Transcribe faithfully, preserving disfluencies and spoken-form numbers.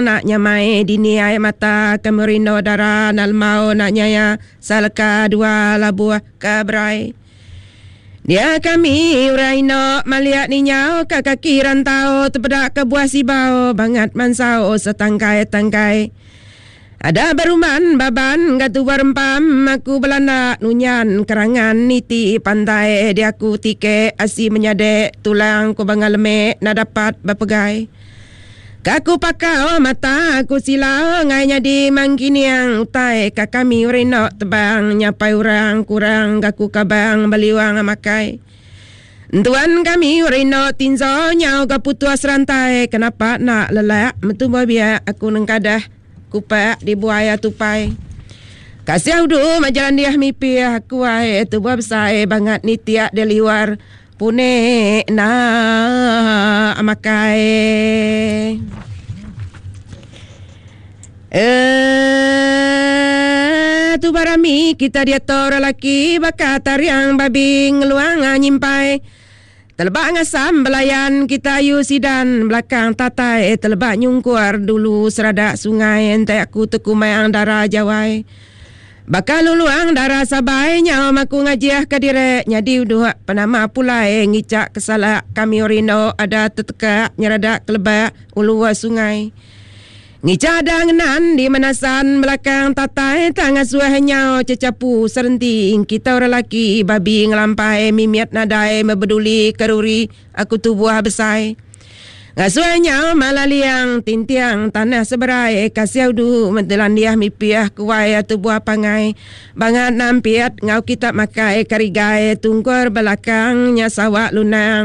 lantang nak nyamai dini ai mata kami rindu dara nak lemau nak nyaya saleka dua labuh ke berai. Dia kami orang ino maliak ninyau ka kaki rantau tepedak ke buah sibau bangat mansau setangkai-tangkai. Ada beruman baban gatu berempam aku belanda nunyan kerangan niti pantai dia aku tike asi menyadek tulang ku bangal lemek na dapat berpegai. Kaku pakau mata aku silau ngai nyadi mangkiniang utai ka kami renok tebang nyapai orang kurang gaku kabang baliwang makai. Tuan kami renok tinzo nyau ga putus rantai kenapa nak lelak metu biak aku nengkadah kupak di buaya tupai. Kasih udu majalan dia mimpi aku ai tu buah besar bangat ni tiak dia liwar pune na makai. Eh tu barami kita dia tor laki bakal tariang babi ngeluang nyimpai. Telebak ngasam belayan kita ayu sidan belakang tatai telebak nyungkuar dulu seradak sungai entai aku tekumayang darah jawai. Bakal luluang darah sabai nyau maku ngajiah ke direk nyadi uduh penama pulai ngicak kesalak kami orino ada tetekak nyeradak kelebak ulu sungai. Ngicak ada ngenan di menasan belakang tatai tangan suah nyau cecapu serenti kita orang laki babi ngelampai mimiat nadai mebeduli keruri aku tubuh besai. Ngasuh nyau malaliang tintiang tanah seberai kasih udu mentelan dia mipiah kuai tubuh pangai bangat nampiat ngau kita makai karigai tungkur belakangnya sawak lunang.